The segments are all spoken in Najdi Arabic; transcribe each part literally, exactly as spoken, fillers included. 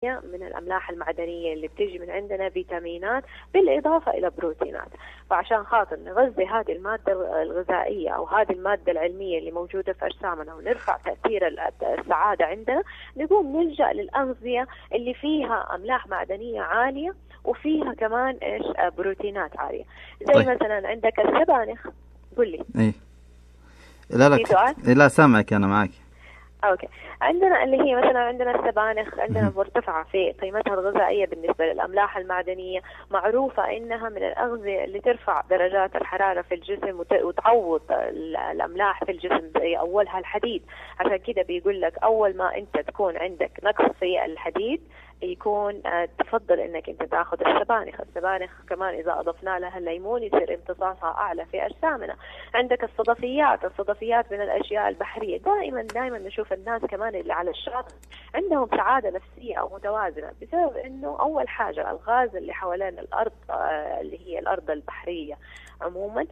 من الأملاح المعدنية اللي بتيجي من عندنا، فيتامينات بالإضافة إلى بروتينات. فعشان خاطر نغذي هذه المادة الغذائية أو هذه المادة العلمية اللي موجودة في أجسامنا ونرفع تأثير السعادة عندنا، نقوم نلجأ للأغذية اللي فيها أملاح معدنية عالية وفيها كمان إيش بروتينات عالية. زي طيب. مثلا عندك السبانخ. قل لي. إيه لا لا لا سامعك أنا معك. أوكي. عندنا اللي هي مثلا عندنا السبانخ عندنا مرتفعة في قيمتها الغذائية بالنسبة للأملاح المعدنية، معروفة إنها من الأغذية اللي ترفع درجات الحرارة في الجسم وتعوض الأملاح في الجسم، زي أولها الحديد. عشان كده بيقول لك أول ما أنت تكون عندك نقص في الحديد يكون تفضل انك انت تاخذ السبانخ. السبانخ كمان اذا اضفنا لها الليمون يصير امتصاصها اعلى في اجسامنا. عندك الصدفيات، الصدفيات من الاشياء البحريه. دائما دائما نشوف الناس كمان اللي على الشاطئ عندهم سعاده نفسيه او متوازنه، بسبب انه اول حاجه الغاز اللي حوالين الارض اللي هي الارض البحريه عموما،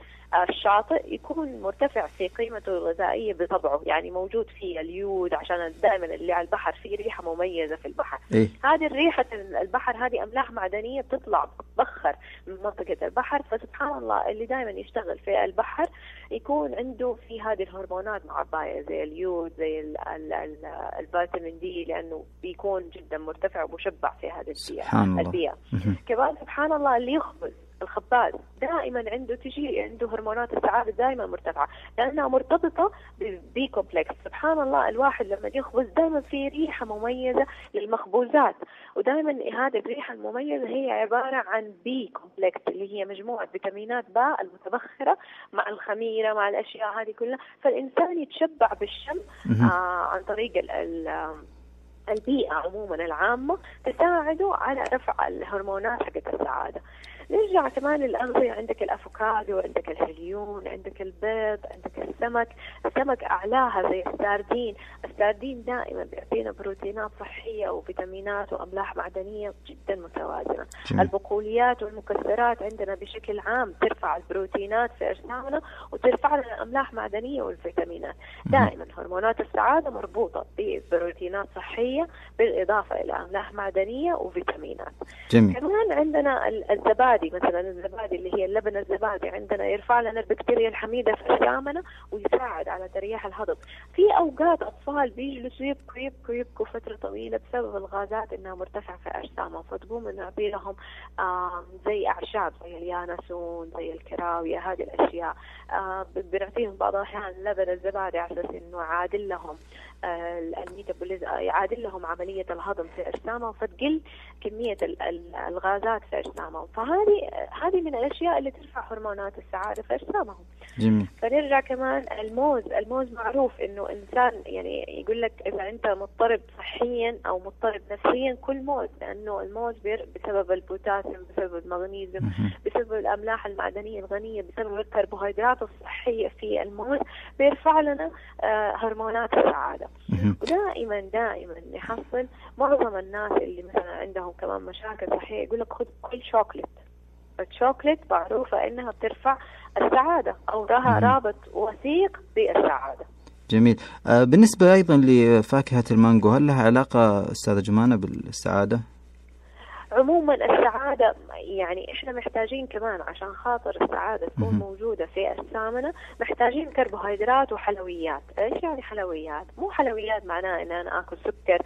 الشاطئ يكون مرتفع في قيمته الغذائيه بطبعه، يعني موجود فيه اليود، عشان دائما اللي على البحر فيه ريحه مميزه في البحر. إيه؟ هذه الريحه البحر هذه املاح معدنيه بتطلع بتبخر من منطقه البحر. فسبحان الله اللي دائما يشتغل في البحر يكون عنده في هذه الهرمونات معبايه زي اليود زي ال ال ال الفيتامين دي، لانه بيكون جدا مرتفع ومشبع في هذه البيئه. البيئه كمان سبحان الله اللي يخبز الخباز دائما عنده تجي عنده هرمونات السعادة دائما مرتفعة، لأنها مرتبطة ببي كومبلكس. سبحان الله الواحد لما يخبز دائما في ريحة مميزة للمخبوزات، ودائما هذه الريحة المميزة هي عبارة عن بي كومبلكس اللي هي مجموعة فيتامينات باء المتبخرة مع الخميرة مع الأشياء هذه كلها. فالإنسان يتشبع بالشم آه عن طريق ال ال البيئة عموما العامة تساعده على رفع الهرمونات حقت السعادة. نرجع كمان للأغذية، عندك الأفوكادو، عندك الهليون، عندك البيض، عندك السمك. السمك أعلاها زي الساردين. الساردين دائما بيعطينا بروتينات صحية وفيتامينات وأملاح معدنية جدا متوازنة. جميل. البقوليات والمكسرات عندنا بشكل عام ترفع البروتينات في أجسامنا وترفع لنا أملاح معدنية والفيتامينات. دائما هرمونات السعادة مربوطة ببروتينات صحية بالإضافة إلى أملاح معدنية وفيتامينات. جميل. كمان عندنا الزبادي، مثلا الزبادي اللي هي اللبن الزبادي عندنا يرفع لنا البكتيريا الحميدة في أجسامنا ويساعد على تريح الهضم. في أوقات أطفال بيجلسوا يبكوا يبكوا يبكوا فترة طويلة بسبب الغازات إنها مرتفعة في أجسامهم، فتقوم نعطي لهم زي أعشاب زي اليانسون زي الكراوية هذه الأشياء. بنعطيهم بعض الأحيان لبن الزبادي على أساس إنه يعادل لهم الميتابوليزم، يعادل لهم عملية الهضم في أجسامهم، فتقل كمية الغازات في أجسامهم. فهذه هذه من الأشياء اللي ترفع هرمونات السعادة في أجسامهم. جميل. فنرجع كمان الموز. الموز معروف إنه إنسان يعني يقول لك إذا أنت مضطرب صحيا أو مضطرب نفسيا كل موز، لأنه الموز بسبب البوتاسيوم بسبب المغنيسيوم بسبب الأملاح المعدنية الغنية بسبب الكربوهيدرات الصحية في الموز بيرفع لنا هرمونات السعادة. ودائما دائما نحصل معظم الناس اللي مثلا عندهم كمان مشاكل صحية يقول لك خذ كل شوكليت. الشوكليت معروفة إنها بترفع السعادة أو لها رابط وثيق بالسعادة. جميل. آه بالنسبة أيضا لفاكهة المانجو، هل لها علاقة أستاذة جمانة بالسعادة؟ عموما السعادة يعني إحنا محتاجين كمان عشان خاطر السعادة تكون موجودة في أجسامنا محتاجين كربوهيدرات وحلويات. إيش يعني حلويات؟ مو حلويات معناه إن أنا آكل سكر.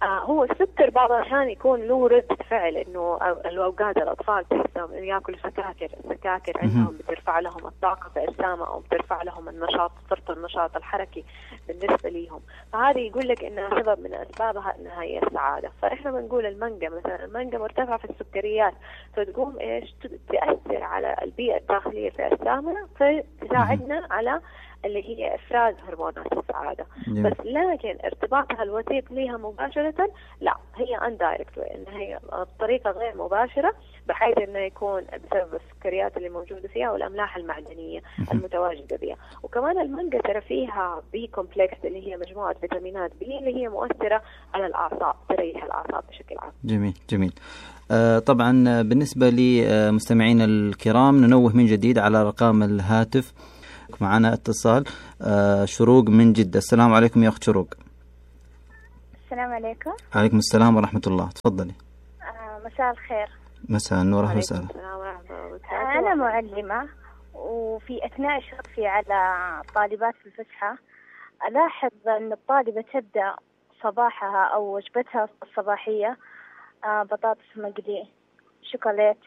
آه هو السكر بعض الأحيان يكون له ردة فعل، إنه الأوقات الأطفال تحسهم يأكلوا سكاكر. السكاكر عندهم بترفع لهم الطاقة في أجسامهم أو بترفع لهم النشاط، صرت النشاط الحركي بالنسبة لهم. فهذه يقول لك إنها سبب من أسبابها إنها هي السعادة. فإحنا بنقول المانجا مثلا، المانجا مرتفعة في السكريات، فتقوم إيش تأثر على البيئة الداخلية في أجسامنا فتساعدنا على اللي هي إفراز هرمونات السعادة. جميل. بس لكن ارتباطها الوثيق لها مباشرة لا، هي اندايركت، إن هي بطريقة غير مباشرة بحيث إنه يكون بسبب السكريات اللي موجودة فيها والأملاح المعدنية المتواجدة بها. وكمان المانجا ترى فيها بي كومبلكس اللي هي مجموعة فيتامينات بي اللي هي مؤثرة على الأعصاب، تريح الأعصاب بشكل عام. جميل جميل. آه طبعا بالنسبة لمستمعين الكرام ننوه من جديد على أرقام الهاتف. معنا اتصال. آه شروق من جدة. السلام عليكم يا أخت شروق. السلام عليكم. عليكم السلام ورحمة الله، تفضلي. آه مساء الخير. مساء النور، أهلا وسهلا. آه أنا معلمة، وفي أثناء إشرافي على طالبات في الفسحة ألاحظ أن الطالبة تبدأ صباحها أو وجبتها الصباحية آه بطاطس مقلي، شوكولات،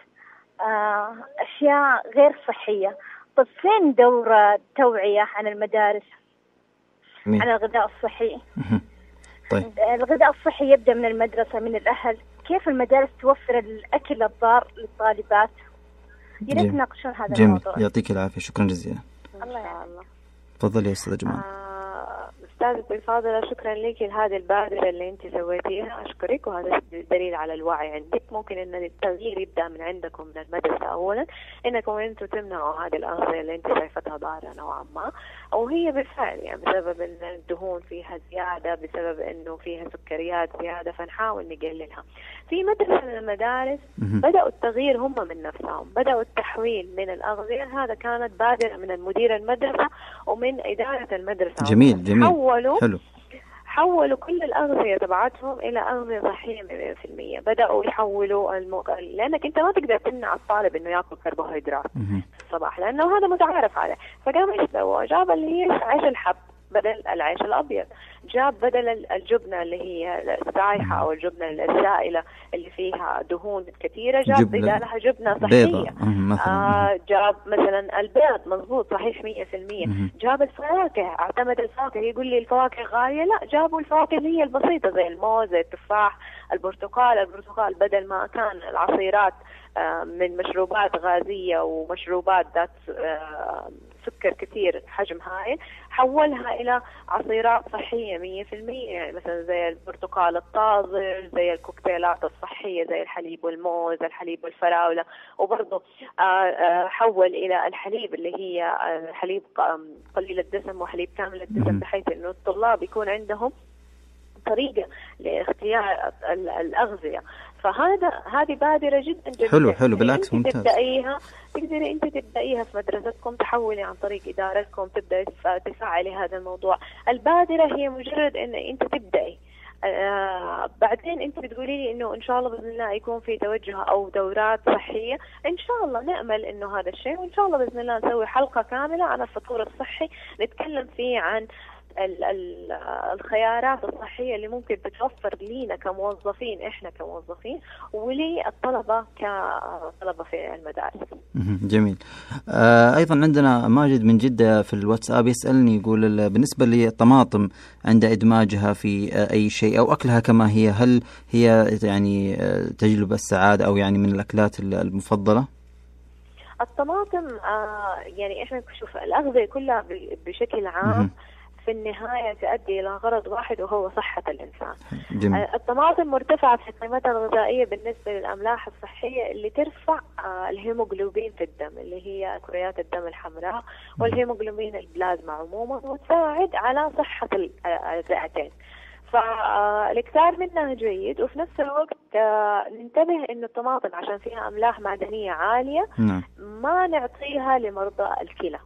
آه أشياء غير صحية. طب فين دورة توعية عن المدارس مين؟ عن الغذاء الصحي؟ طيب. الغذاء الصحي يبدأ من المدرسة، من الأهل. كيف المدارس توفر الأكل الضار للطالبات؟ يريد نناقشون هذا جميل. الموضوع. يعطيك العافية، شكرا جزيلا. الله يعلم. تفضلي يا أستاذة جمال. آه أستاذتي الفاضلة، شكرا لك لهذه البادرة اللي أنت سويتيها، أشكرك، وهذا دليل على الوعي عندك. ممكن أن التغيير يبدأ من عندكم من المدرسة أولا، إنكم أنتم تمنعوا هذه الأغذية اللي أنت شايفتها ضارة نوعا ما، وهي بالفعل يعني بسبب أن الدهون فيها زيادة، بسبب أنه فيها سكريات زيادة، فنحاول نقللها. في مدرسة من المدارس بدأوا التغيير هم من نفسهم، بدأوا التحويل من الأغذية. هذا كانت بادرة من المدير المدرسة ومن إدارة المدرسة. جميل جميل. حولوا حلو. حولوا كل الأغذية تبعتهم إلى أغذية صحية مئة في المئة. بدأوا يحولوا المق... لأنك أنت ما تقدر تمنع الطالب إنه يأكل كربوهيدرات في الصباح، لأنه هذا متعارف عليه. فقام إيش سووا؟ جاب اللي هي عيش الحب بدل العيش الأبيض، جاب بدل الجبنة اللي هي السايحة أو الجبنة السائلة اللي فيها دهون كثيرة، جاب بدالها جبنة صحية. آه جاب مثلا البيض، مضبوط صحيح مية في المية. جاب الفواكه، اعتمد الفواكه. يقول لي الفواكه غالية، لا، جابوا الفواكه اللي هي البسيطة زي الموز، زي التفاح، البرتقال. البرتقال بدل ما كان العصيرات آه من مشروبات غازية ومشروبات ذات آه سكر كثير حجم هائل، حولها إلى عصيرات صحية مية في المية. يعني مثلا زي البرتقال الطازج، زي الكوكتيلات الصحية، زي الحليب والموز، الحليب والفراولة. وبرضه حول إلى الحليب اللي هي حليب قليل الدسم وحليب كامل الدسم، بحيث إنه الطلاب يكون عندهم طريقة لاختيار الأغذية. فهذا هذه بادرة جدا جدا حلو حلو بالعكس ممتاز. تبدأيها، تقدري أنت تبدأيها في مدرستكم، تحولي عن طريق إدارتكم، تبدأي تفعلي هذا الموضوع. البادرة هي مجرد إن أنت تبدأي. آه بعدين أنت بتقولي لي إنه إن شاء الله بإذن الله يكون في توجه أو دورات صحية. إن شاء الله نأمل إنه هذا الشيء، وإن شاء الله بإذن الله نسوي حلقة كاملة عن الفطور الصحي، نتكلم فيه عن ال ال الخيارات الصحية اللي ممكن تتوفر لينا كموظفين، إحنا كموظفين، وللطلبة كطلبة في المدارس. جميل. آه أيضا عندنا ماجد من جدة في الواتساب يسألني، يقول بالنسبة للطماطم عند إدماجها في أي شيء أو أكلها كما هي، هل هي يعني تجلب السعادة أو يعني من الأكلات المفضلة؟ الطماطم آه يعني إحنا شوف الأغذية كلها بشكل عام في النهاية تؤدي إلى غرض واحد، وهو صحة الإنسان. جميل. الطماطم مرتفعة في قيمتها الغذائية بالنسبة للأملاح الصحية اللي ترفع الهيموغلوبين في الدم، اللي هي كريات الدم الحمراء والهيموغلوبين البلازما عموما، وتساعد على صحة الرئتين. فالاكثار منها جيد، وفي نفس الوقت ننتبه إنه الطماطم عشان فيها أملاح معدنية عالية ما نعطيها لمرضى الكلى،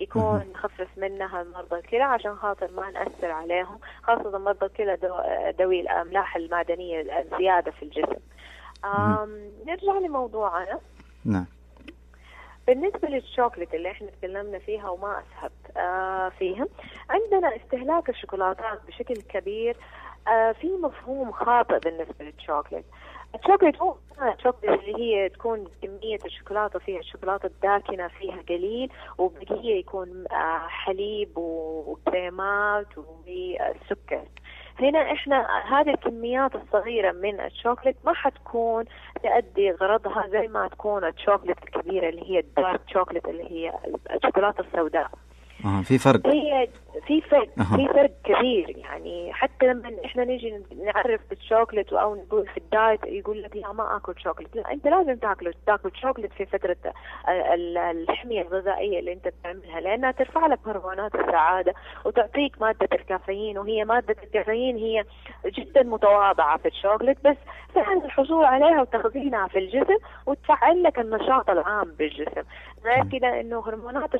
يكون نخفف منها مرضى الكلى عشان خاطر ما نأثر عليهم، خاصة مرضى الكلى ذوي الأملاح المعدنية الزيادة في الجسم. نرجع لموضوعنا. نعم. بالنسبة للشوكولات اللي احنا تكلمنا فيها وما أسهبت آه فيها، عندنا استهلاك الشوكولاتات بشكل كبير. آه في مفهوم خاطئ بالنسبة للشوكولات. الشوكولات هو الشوكولات اللي هي تكون كمية الشوكولاتة فيها الشوكولاتة الداكنة فيها قليل، وبقية يكون آه حليب وكريمات وسكر. هنا احنا هذه الكميات الصغيرة من الشوكولات ما حتكون تؤدي غرضها زي ما تكون الشوكولات الكبيرة اللي هي الدارك شوكولات اللي هي الشوكولاتة السوداء. اه في فرق. هي في فرق أه. في فرق كبير. يعني حتى لما احنا نيجي نعرف بالشوكولات او نقول في الدايت يقول لك لا ما اكل شوكولات، لا انت لازم تاكل تاكل شوكولات في فتره الحميه الغذائيه اللي انت بتعملها، لانها ترفع لك هرمونات السعاده وتعطيك ماده الكافيين، وهي ماده الكافيين هي جدا متواضعه في الشوكولات، بس سهل الحصول عليها وتخزينها في الجسم وتفعل لك النشاط العام بالجسم. غير كده انه هرمونات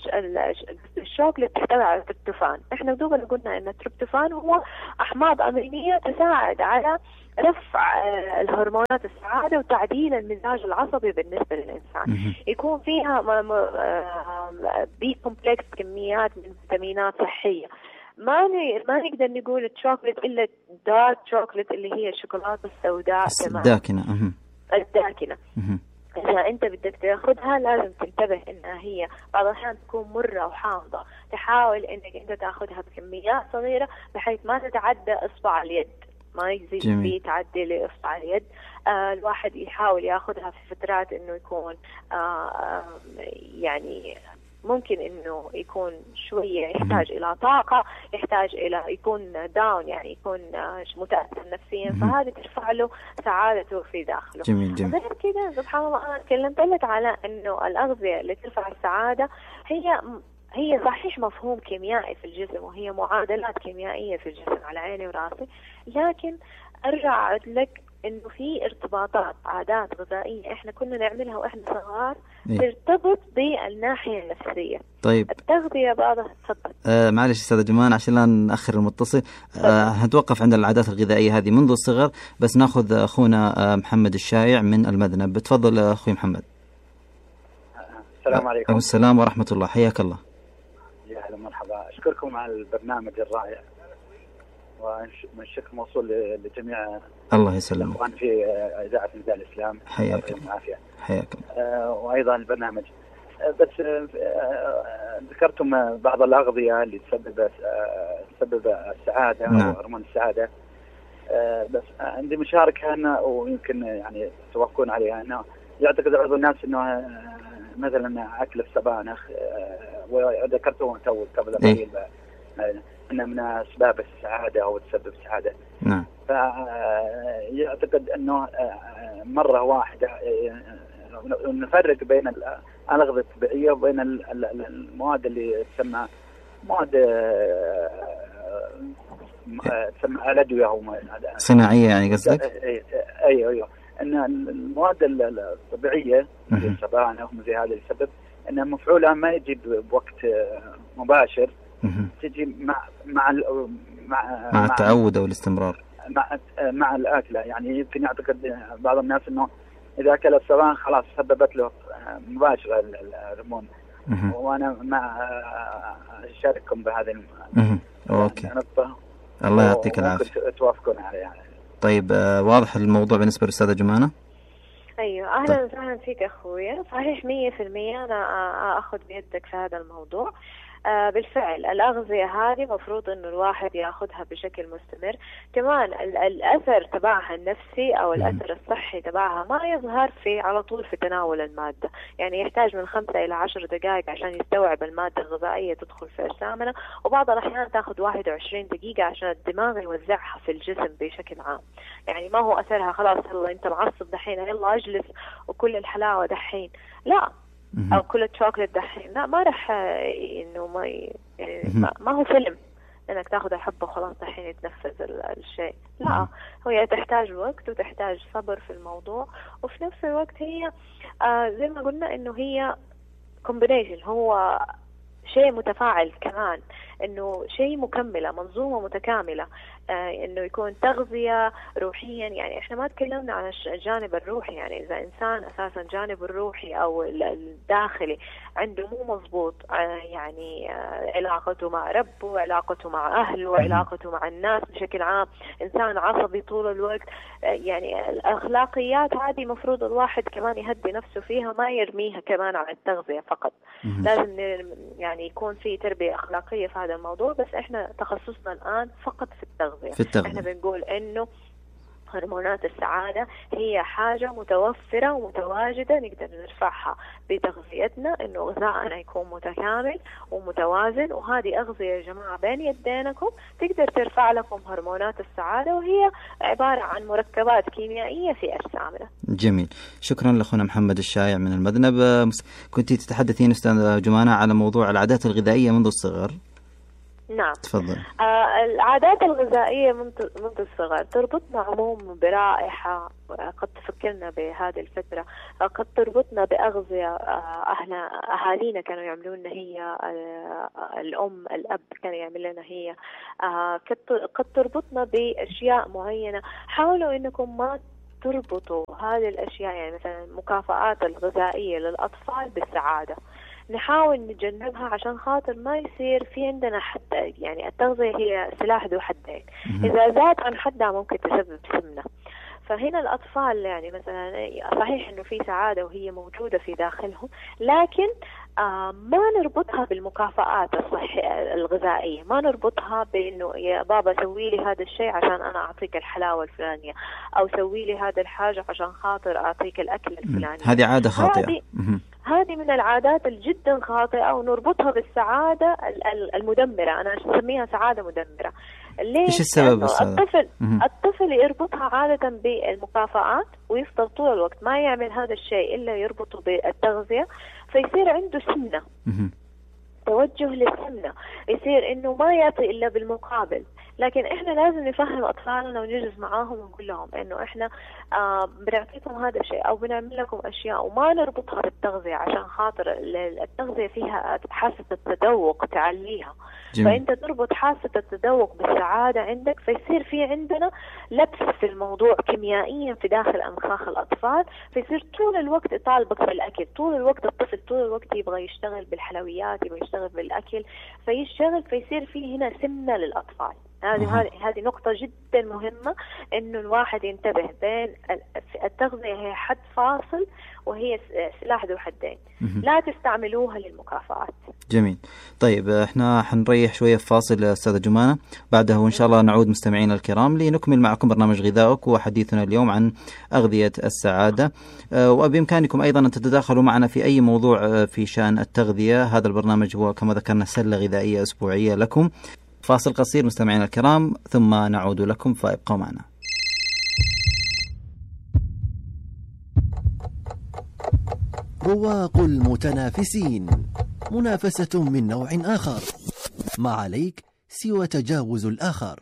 الشوكولات تحتوي على التريبتوفان، احنا دوبنا قلنا ان التريبتوفان هو احماض امينيه تساعد على رفع الهرمونات السعاده وتعديل المزاج العصبي بالنسبه للانسان. يكون فيها بي كومبلكس كميات من فيتامينات صحيه. ما ما نقدر نقول الشوكولات الا دارك شوكولات اللي هي الشوكولاته السوداء الداكنه الداكنه. إذا أنت بدك تأخذها لازم تنتبه إنها هي بعض الأحيان تكون مرة وحامضة، تحاول إنك أنت تأخذها بكميات صغيرة بحيث ما تتعدى إصبع اليد، ما يزيد فيه تعدي لإصبع اليد. آه الواحد يحاول يأخذها في فترات إنه يكون آه آه يعني ممكن إنه يكون شوية يحتاج إلى طاقة، يحتاج إلى يكون داون يعني يكون متأثر نفسيا، فهذه ترفع له سعادته في داخله. جميل جميل. غير كده سبحان الله أنا تكلمت لك على إنه الأغذية اللي ترفع السعادة هي هي صحيح مفهوم كيميائي في الجسم وهي معادلات كيميائية في الجسم على عيني وراسي، لكن أرجع أعد لك إنه في ارتباطات عادات غذائية إحنا كنا نعملها وإحنا صغار إيه؟ ترتبط بالناحية النفسية. طيب التغذية بعضها تفضل. آه معلش أستاذ جمان عشان لا نأخر المتصل، آه هنتوقف عند العادات الغذائية هذه منذ الصغر، بس ناخذ أخونا آه محمد الشايع من المذنب. بتفضل أخوي محمد. السلام عليكم. السلام ورحمة الله، حياك الله. يا أهلا مرحبا، أشكركم على البرنامج الرائع والشكر موصول لجميع الله يسلمك الأخوان في إذاعة نداء الإسلام. حياك العافية. حياك. آه وأيضا البرنامج آه بس آه ذكرتم بعض الأغذية اللي تسبب آه تسبب السعادة نعم. أو هرمون السعادة. آه بس عندي مشاركة أنا ويمكن يعني توافقون عليها، أنه يعتقد بعض الناس أنه آه مثلا أكل السبانخ آه وذكرته تو قبل قليل إيه؟ أنه من أسباب السعادة أو تسبب السعادة. نعم. فيعتقد أنه مرة واحدة نفرق بين الأغذية الطبيعية وبين المواد اللي تسمى مواد تسمى الأدوية أو صناعية يعني قصدك؟ أيوه أيوه أن المواد الطبيعية مثل السبانخ وزي هذا اللي يسبب أن مفعولها ما يجي بوقت مباشر، تجي مع مع مع, مع التعود او الاستمرار مع مع الاكله. يعني يمكن يعتقد بعض الناس انه اذا اكل السبانخ خلاص سببت له مباشره الهرمون، وانا مع اشارككم بهذه النقطه. الله يعطيك العافيه. توافقون عليها يعني. طيب آه واضح الموضوع بالنسبه للاستاذه جمانه؟ ايوه اهلا وسهلا فيك اخويا. صحيح مية في المية انا اخذ بيدك في هذا الموضوع. آه بالفعل الأغذية هذه مفروض إنه الواحد يأخذها بشكل مستمر. كمان الأثر تبعها النفسي أو الأثر الصحي تبعها ما يظهر في على طول في تناول المادة، يعني يحتاج من خمسة إلى عشر دقائق عشان يستوعب المادة الغذائية تدخل في أجسامنا، وبعض الأحيان تأخذ واحد وعشرين دقيقة عشان الدماغ يوزعها في الجسم بشكل عام. يعني ما هو أثرها خلاص يلا أنت معصب دحين يلا أجلس وكل الحلاوة دحين، لا، أو كل الشوكولات دحين، لا، ما رح إنه ما يعني ما هو فيلم إنك تأخذ الحبة وخلاص دحين يتنفذ الشيء، لا، هي تحتاج وقت وتحتاج صبر في الموضوع، وفي نفس الوقت هي آه زي ما قلنا إنه هي combination، هو شيء متفاعل كمان، إنه شيء مكملة، منظومة متكاملة، آه إنه يكون تغذية روحيا. يعني إحنا ما تكلمنا عن الجانب الروحي، يعني إذا إنسان أساسا جانب الروحي أو الداخلي عنده مو مضبوط، آه يعني آه علاقته مع ربه، علاقته مع أهله، علاقته مع الناس بشكل عام، إنسان عصبي طول الوقت، آه يعني الأخلاقيات هذه مفروض الواحد كمان يهدي نفسه فيها، ما يرميها كمان على التغذية فقط. لازم يعني يكون في تربية أخلاقية في هذا الموضوع، بس إحنا تخصصنا الآن فقط في التغذية. في التغذية. احنا بنقول انه هرمونات السعادة هي حاجة متوفرة ومتواجدة نقدر نرفعها بتغذيتنا، انه غذائنا يكون متكامل ومتوازن، وهذه أغذية يا جماعة بين يدينكم تقدر ترفع لكم هرمونات السعادة، وهي عبارة عن مركبات كيميائية في أجسامنا. جميل، شكرا لأخونا محمد الشايع من المذنب. كنت تتحدثين أستاذ جمانة على موضوع العادات الغذائية منذ الصغر. نعم تفضل. آه العادات الغذائية منذ منذ الصغر تربطنا عموما برائحة قد تفكرنا بهذه الفترة، قد تربطنا بأغذية آه أهلنا أهالينا كانوا يعملون لنا هي، آه الأم الأب كان يعمل لنا هي، آه قد تربطنا بأشياء معينة. حاولوا إنكم ما تربطوا هذه الأشياء، يعني مثلا المكافآت الغذائية للأطفال بالسعادة، نحاول نتجنبها عشان خاطر ما يصير في عندنا حتى، يعني التغذية هي سلاح ذو حدين، إذا زاد عن حدها ممكن تسبب سمنة. فهنا الأطفال يعني مثلا صحيح إنه في سعادة وهي موجودة في داخلهم، لكن آه ما نربطها بالمكافآت الصحية الغذائية، ما نربطها بإنه يا بابا سوي لي هذا الشيء عشان أنا أعطيك الحلاوة الفلانية، أو سوي لي هذا الحاجة عشان خاطر أعطيك الأكل الفلاني. هذه عادة خاطئة. هذه من العادات الجدا خاطئة، ونربطها بالسعادة المدمرة. أنا أسميها سعادة مدمرة. ليش؟ إيش السبب؟ الطفل الطفل يربطها عادة بالمكافآت ويفضل طول الوقت ما يعمل هذا الشيء إلا يربطه بالتغذية، فيصير عنده سمنة، توجه للسمنة، يصير إنه ما يعطي إلا بالمقابل. لكن إحنا لازم نفهم أطفالنا ونجلس معاهم ونقول لهم إنه إحنا آه بنعطيكم هذا الشيء أو بنعمل لكم أشياء، وما نربطها بالتغذية عشان خاطر التغذية فيها حاسة التذوق تعليها. جميل. فأنت تربط حاسة التذوق بالسعادة عندك، فيصير في عندنا لبس في الموضوع كيميائيا في داخل أمخاخ الأطفال، فيصير طول الوقت يطالبك بالأكل، طول الوقت الطفل طول الوقت يبغى يشتغل بالحلويات، يبغى يشتغل بالأكل، فيشتغل فيصير في هنا سمنة للأطفال. هذه هذه هذه نقطة جدا مهمة، إنه الواحد ينتبه بين التغذية هي حد فاصل وهي سلاح ذو حدين، لا تستعملوها للمكافآت. جميل. طيب احنا حنريح شوية في فاصل أستاذة جمانة، بعده وإن شاء الله نعود مستمعينا الكرام لنكمل معكم برنامج غذائك وحديثنا اليوم عن أغذية السعادة. وبإمكانكم أيضا أن تتداخلوا معنا في أي موضوع في شأن التغذية. هذا البرنامج هو كما ذكرنا سلة غذائية أسبوعية لكم. فاصل قصير مستمعينا الكرام ثم نعود لكم، فابقوا معنا. رواق المتنافسين، منافسة من نوع آخر، ما عليك سوى تجاوز الآخر.